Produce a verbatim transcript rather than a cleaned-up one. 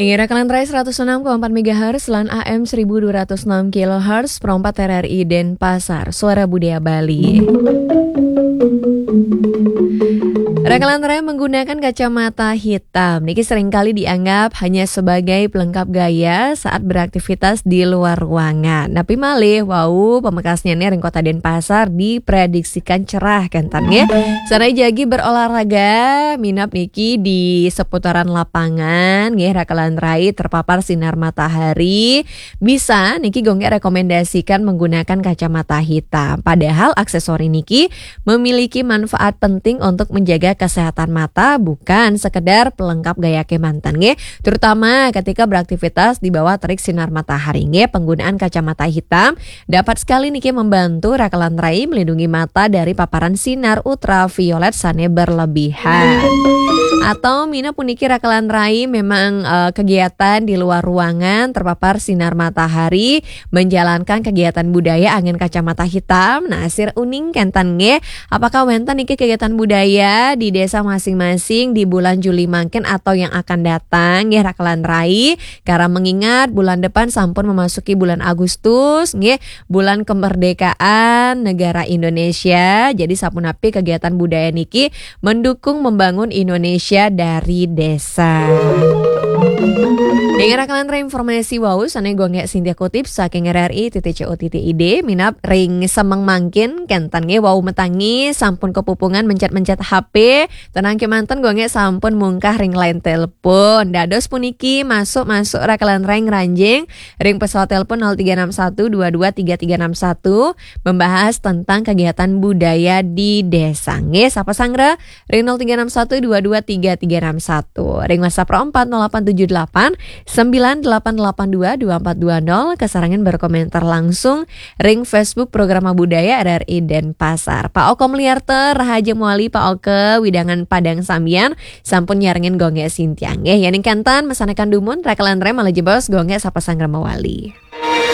Inggih, Rakalan Rai seratus enam koma empat megahertz lan A M seribu dua ratus enam kilohertz, perempat R R I Denpasar, Suara Budaya Bali. Rakalan Rai menggunakan kacamata hitam niki seringkali dianggap hanya sebagai pelengkap gaya saat beraktivitas di luar ruangan. Tapi malih wau pamekasnya nih ring Kota Denpasar diprediksikan cerah kenten nggih. Sanajan jagi berolahraga, minab niki di seputaran lapangan nggih, Rakalan Rai terpapar sinar matahari, bisa niki Gung Gek rekomendasikan menggunakan kacamata hitam. Padahal aksesori niki memiliki manfaat penting untuk menjaga kesehatan mata, bukan sekedar pelengkap gaya kemanten nggih. Terutama ketika beraktivitas di bawah terik sinar matahari nggih, penggunaan kacamata hitam dapat sekali niki membantu Rakalan Rai melindungi mata dari paparan sinar ultraviolet sane berlebihan. Atau minab puniki Rakalan Rai memang eh, kegiatan di luar ruangan terpapar sinar matahari, menjalankan kegiatan budaya anggen kacamata hitam. Nah, sira uning kenten nggih, apakah wenten niki kegiatan budaya di desa masing-masing di bulan Juli mangkin atau yang akan datang nggih, Rakalan Rai? Karena mengingat bulan depan sampun memasuki bulan Agustus nggih, bulan kemerdekaan negara Indonesia. Jadi sapunapi kegiatan budaya niki mendukung membangun Indonesia dari desa. Inggih, Rakalan Rai, informasi wau sane Gung Gek Sintia kutip saking R R I titik co titik I D, minab ring semeng mangkin kenten nggih, wau metangi sampun kepupungan mencet-mencet H P, tenang kemanten Gung Gek sampun mungkah ring line telepon. Dados puniki masuk-masuk Rakalan Rai ngranjing ring pesawat telepon nol tiga enam satu dua dua tiga tiga enam satu, membahas tentang kegiatan budaya di desa nggih. Sapa sanggra ring nol tiga enam satu dua dua tiga tiga enam satu. Ring WhatsApp ro empat nol delapan tujuh delapan sembilan delapan delapan dua dua empat dua nol, kasarengan berkomentar langsung ring Facebook Programa Budaya R R I Denpasar. Pak Oke Meliarta, rahaja mawali Pak Oke, wewidangan Padang Sambian, sampun nyarengin Gung Gek Sintia nggih. Yening kenten mesanekan dumun, Rakalan Rai malih jebos Gung Gek sapa sanggra mawali.